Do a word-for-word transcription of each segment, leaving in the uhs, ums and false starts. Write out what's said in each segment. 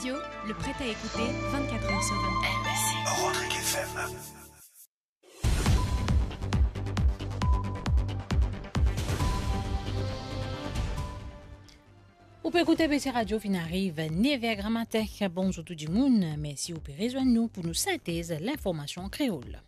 Le prêt à écouter vingt-quatre heures sur vingt-quatre. Rodrigue F M. Ou pe ekoute B C Radio, finn ariv nev er gramatin. Bonzour tou dimoun, mersi ou pe rezwenn nou pou nou sintez linformasion an kreol.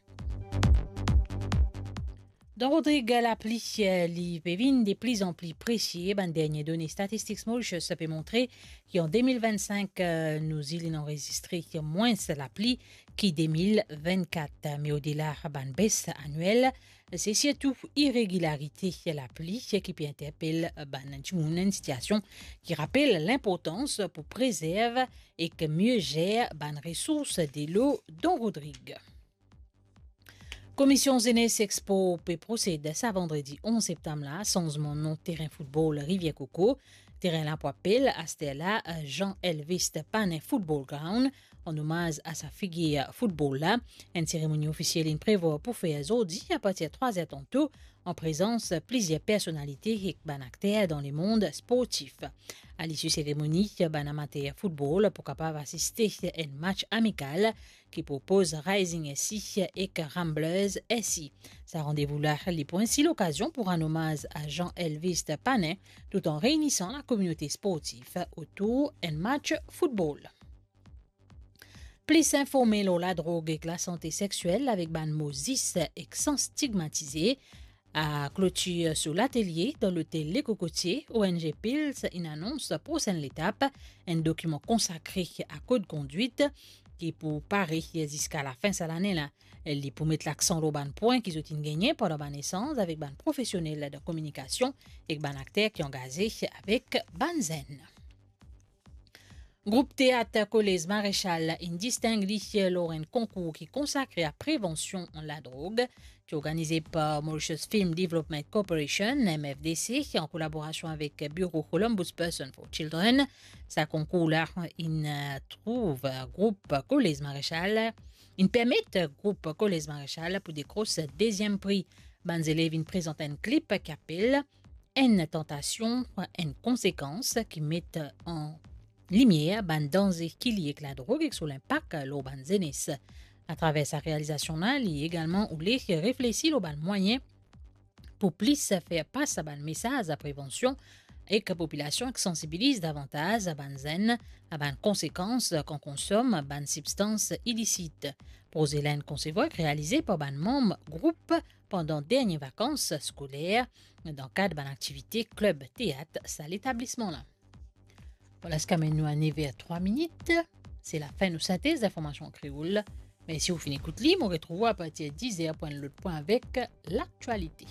Dan Rodrig, lapli, eh, li pe vinn de pli an pli presie. Bann dernie done Statistics Mauritius pe montre ki an de mil vennsenk, eh, nou zil inn anrezistre mwins lapli ki de mil vennkat. Me odela bann bes aniel, se sirtou iregilarite lapli ki pe interpel bann dimoun, enn sitiasion ki rapel linportans pou prezerv ek mie zer bann resours delo dan Rodrig. Komision Zenes Expo pe prosed sa vandredi onz septam la, sanzman non terin foutbol Rivier Coco. Terin la pou apel aster la Jean Elvis Panin Football Ground, an omaz a sa figir foutbol la. Enn seremoni ofisiel inn prevwar pou fer zordi apartir trwa zer tanto, an prezans plizier personalite ek bann akter dan lemond sportif. A lisi seremoni, bann amater foutbol pou kapav asiste enn match amikal ki propoz Rising S C ek Ramblers S C. Sa randevou la, li pou ensi lokazion pou rann omaz a Jean Elvis Panin, tout an reynisan lakominote sportif otour enn match foutbol. Plis informe lor ladrog ek lasante sexiel avek bann mo zis ek san stigmatize, a klotir so latelie dan lotel Le Cocotier, O N G Pils inn anons prosenn letap, enn dokiman konsakre a kod kondwit ki pou pare ziska lafin sa lane la. Li pou met laksan lor bann pwin ki zot inn gagne pandan bann esanz avek bann profesionel dan kominikasion ek bann akter ki angaze avek bann zenn. Group teat Kolez Marechal inn disting li lor enn konkour ki konsakre a prevansion ladrog, ki organize par Mauritius Film Development Corporation, M F D C, an kolaborasion avek Biro Ombudsperson for Children. Sa konkour la inn, eh, trouv group Kolez Marechal, inn permet group Kolez Marechal pou dekros deziem pri. Bann zelev inn prezant enn klip ki apel Enn tantasion, enn konsekans, ki met an limier bann danze ki lie ek ladrog ek so linpak lor bann zenes. Atraver sa realizasion la, li egalman oule reflesi lor bann mwayin pou plis fer pas a bann mesaz a prevansion ek popilasion ek sansibiliz davantaz a bann zenn a bann konsekans kan konsom bann sibstans ilisit. Proze la inn konsevwar ek realize par bann manm group pandan dernie vakans skoler dan kad bann aktivite klib teat sa letablisman la. Vwala seki amenn nou a nev er trwa minit. Se lafin nou sintez linformasion an kreol. Mersi ou finn ekout li. Mo retrouv ou apartir diz er pou enn lot pwin avek laktialite.